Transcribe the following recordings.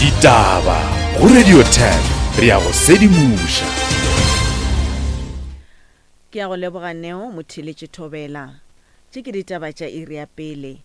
Ditaba go Radio 10 re a go sedimoša. Ke a go leboga Neo Motheeletši Thobela. Tše ke ditaba tša iri ya pele.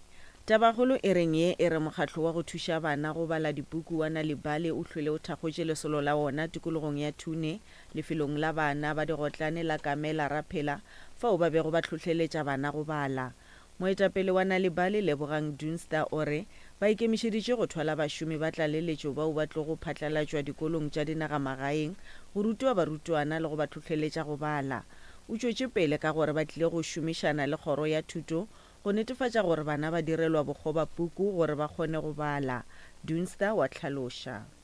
Tabakgolo e reng ye e re mokgatlo wa go thuša bana go bala dipuku wa Nal'ibali o hlwele o thakgotše lesolo la wona tikologong ya Thune lefelong la bana ba digotlane la Kamela Raphela fao ba bego ba hlohleletša bana go bala. Moetapele wa Nal'ibali Lebogang Dunster o re ba ikemišeditše go thwala bašomi ba tlaleletšo bao ba tlogo phatlalatšwa dikolong tša dinagamagaeng go rutiwa barutwana le go ba hlohleletša go bala. O tšwetše pele ka gore ba tlile go šomišana le kgoro ya thuto go netefatša gore bana ba direlwa bokgobapuku gore ba kgone go bala, Dunster wa hlaloša.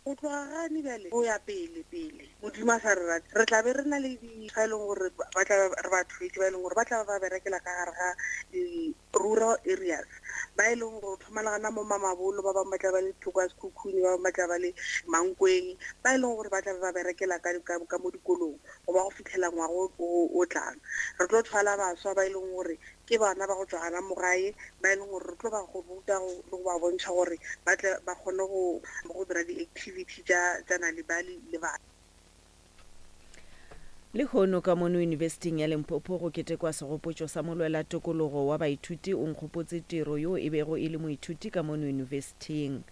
Go tloga gane bjale go ya pele pele, Modimo a sa re rate, re tla be re na le di ba e leng gore ba tla re ba thwetše, ba e leng gore ba tla ba ba berekela ka gare ga di-rural areas, ba e leng gore thoma le gana mo Mamabolo, ba bangwe ba tla ba le thoko ya Sekhukhune, ba bangwe ba tla ba le Mankweng, ba e leng gore ba tla be ba berekela ka, ka, ka mo dikolong go ba go fitlhela ngwaga o, o, o tlang. Re tlo thwala baswa ba e leng gore ke bana ba go tšwa gana mo gae ba e leng gore re tlo ba go ruta le go ba bontšha gore ba tle ba kgone go go dira di-activity tša tša Nal'ibali le bana. Lehono ka mono Yunibesithing ya Limpopo go ketekwa segopotšo sa molwela tokologo wa baithuti Onkgopotse Tiro yo e bego e le moithuti ka mono yunibesithing.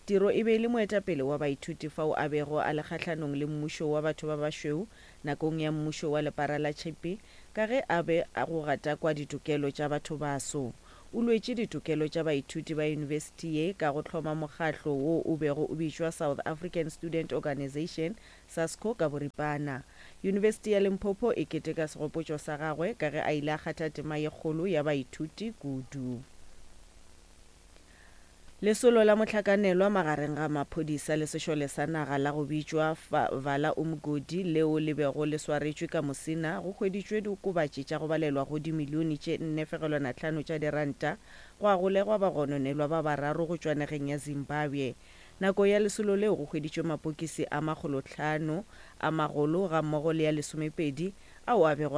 Tiro e be e le moetapele wa baithuti fao a bego a le kgahlanong le mmušo wa batho ba bašweu nakong ya mmušo wa lepara la tšhipi Ka ge a be a go gatakwa ditokelo tša bathobaso, o lwetše ditokelo tša baithuti ba yunibesithi ye ka go hloma mokgatlo wo o bego o bitšwa South African Student Organisation, SASCO ka boripana. Yunibesithi ya Limpopo e keteka segopotšo sa gagwe ka ge a ile a kgatha tema ye kgolo ya baithuti kudu. Lesolo la mohlakanelwa magareng ga maphodisa le sešole sa naga la go bitšwa Vala Umgodi leo le bego le swaretšwe ka Musina go hweditšwe diokobatši tša go balelwa go dimilione tše 4.5 tša diranta gwa golegwa bagononelwa ba bararo go tšwa nageng ya Zimbabwe. Nako ya lesolo leo go hweditšwe mapokisi a makgolohlano a magolo gammogo le a lesomepedi ao a bego.